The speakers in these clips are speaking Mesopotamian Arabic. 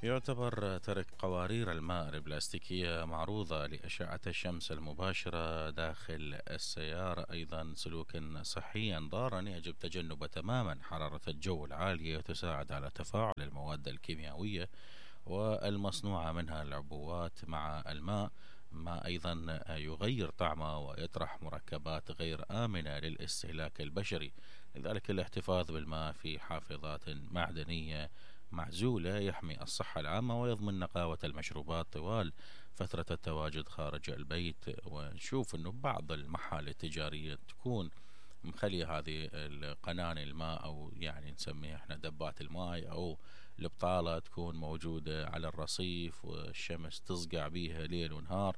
يعتبر ترك قوارير الماء البلاستيكية معروضة لأشعة الشمس المباشرة داخل السيارة أيضا سلوكا صحيا ضارا يجب تجنبه تماما. حرارة الجو العالية تساعد على تفاعل المواد الكيميائية والمصنوعة منها العبوات مع الماء، ما أيضا يغير طعمه ويطرح مركبات غير آمنة للاستهلاك البشري. لذلك الاحتفاظ بالماء في حافظات معدنية معزولة يحمي الصحة العامة ويضمن نقاوة المشروبات طوال فترة التواجد خارج البيت. ونشوف انه بعض المحال التجارية تكون مخلية هذه القناة الماء او يعني نسميها احنا دبات الماء او البطالة تكون موجودة على الرصيف والشمس تصقع بيها ليل ونهار،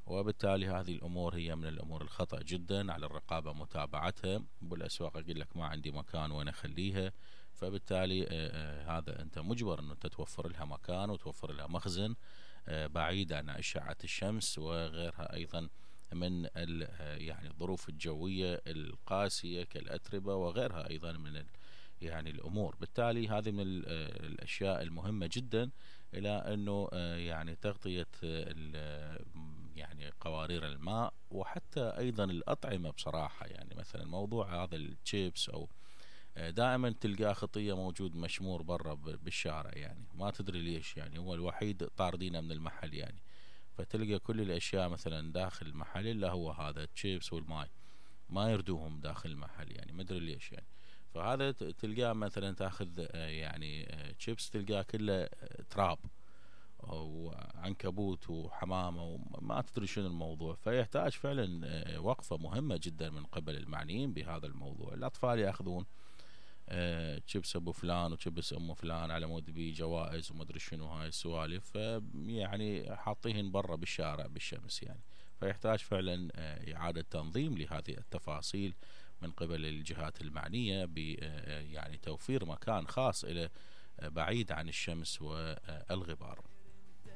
وبالتالي هذه الأمور هي من الأمور الخطأ جدا. على الرقابة متابعتها. بالأسواق أقول لك ما عندي مكان وين أخليها، فبالتالي هذا أنت مجبر أنه تتوفر لها مكان وتوفر لها مخزن بعيد عن أشعة الشمس وغيرها أيضا من يعني الظروف الجوية القاسية كالأتربة وغيرها أيضا من يعني الأمور. بالتالي هذه من الأشياء المهمة جدا إلى أنه يعني تغطية يعني قوارير الماء وحتى أيضا الأطعمة بصراحة. يعني مثلا موضوع هذا الشيبس أو دائما تلقاه خطية موجود مشمور برا بالشارع، يعني ما تدري ليش، يعني هو الوحيد طاردينه من المحل يعني، فتلقى كل الأشياء مثلا داخل المحل إلا هو هذا الشيبس والماي ما يردوهم داخل المحل، يعني ما ادري ليش يعني. فهذا تلقاه مثلا تاخذ يعني شيبس تلقاه كله تراب وعنكبوت وحمامة وما تدري شنو الموضوع. فيحتاج فعلا وقفة مهمة جدا من قبل المعنيين بهذا الموضوع. الأطفال يأخذون شيبس ابو فلان وشيبس ام فلان على مود بيه جوائز وما ادري شنو هاي السوالف، يعني حاطيهن برا بالشارع بالشمس يعني. فيحتاج فعلا إعادة تنظيم لهذه التفاصيل من قبل الجهات المعنية ب يعني توفير مكان خاص إلى بعيد عن الشمس والغبار.